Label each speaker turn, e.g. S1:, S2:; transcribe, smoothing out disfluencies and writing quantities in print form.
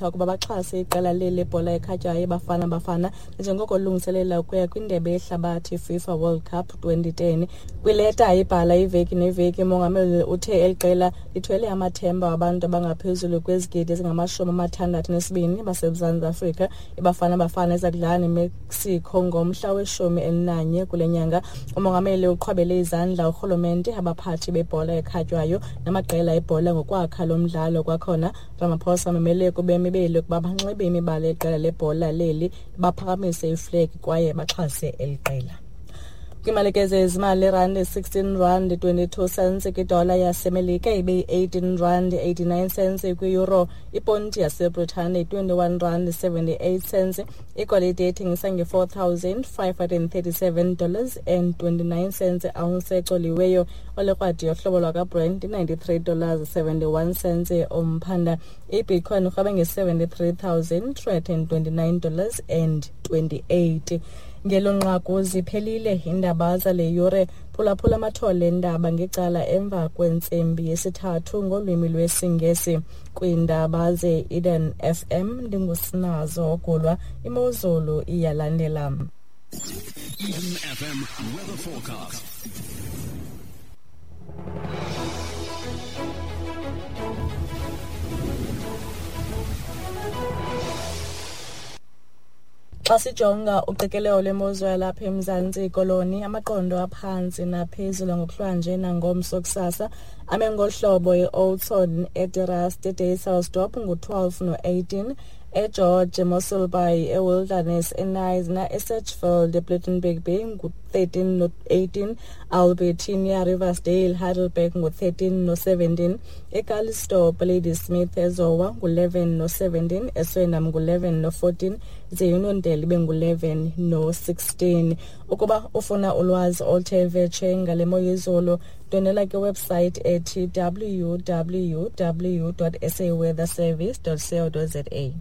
S1: Afrika ukuba baxhase iqela leli lebhola ekhatywayo iBafana Bafana njengoko lungiselela ukuya kwindebe yehlabathi FIFA World Cup 2010. Kwileta ayibhala iveki neveki, umongameli uthe eli qela lithwele amathemba wabantu abangaphezulu kwezigidi ezingama-62 baseMzantsi Afrika. IBafana Bafana iza kudlala neMexico ngomhla we-11 kule nyanga. Umongameli uqhwabele izandla urhulumente, abaphathi bebhola ekhatywayo namaqela ebhola ngokwakha lo mdlalo. Kwakhona Ramaphosa umemele kubemi beli ukuba banxibe imibala yeqela lebhola leli, baphakamise iflegi kwaye baxhase eli qela. Kwimalike zezimali, irandi 16 rand 22 cents kwidola yaseMelika, ibe yi-18 rand 89 cents kwi-euro, iponti yaseBritane 21 rand 78 cents. Igolide ethengisa nge-4537 dollars and 29 cents ounce ecoliweyo. Olekrwadi yohlobo lwakaBrent 93 dollars 71 cents umphanda. Ibitcoin urhabe nge-73,329 dollars and 28. Ngelo nqaku ziphelile iindaba zale yure. Phulaphula amathole endaba ngecala emva kwentsimbi yesithathu ngolwimi lwesiNgesi. Kwiindaba ze-Eden FM ndinguSinazo Ogulwa. Imozulu iyalandela.
S2: Eden FM weather forecast.
S1: Xa sijonga uqikelelo lwemozulu yalapha eMzantsi Koloni, amaqondo aphantsi naphezulu ngokuhlwanje nangomso kusasa ame ngolu hlobo: i-Oudtshoorn, eDeRust, eDysselsdorp ngu-12 no-18, eGeorge, eMossel Bay, eWilderness, eKnysna, eSedgefield, ePlettenberg Bay ngu-13 no-18, Albertinia, Riversdale, Heidelberg ngu-13 no-17, eCalitzdorp, Ladysmith, eZowa ngu-11 no-17, eSwellnum ngu-11 no-14, ze Uniondale ibe ngu-11 no-16. Ukuba ufuna ulwazi oluthe vetshe ngale mo yezulu, ndwendwela kwiwebsite ethi www.saweatherservice.co.za.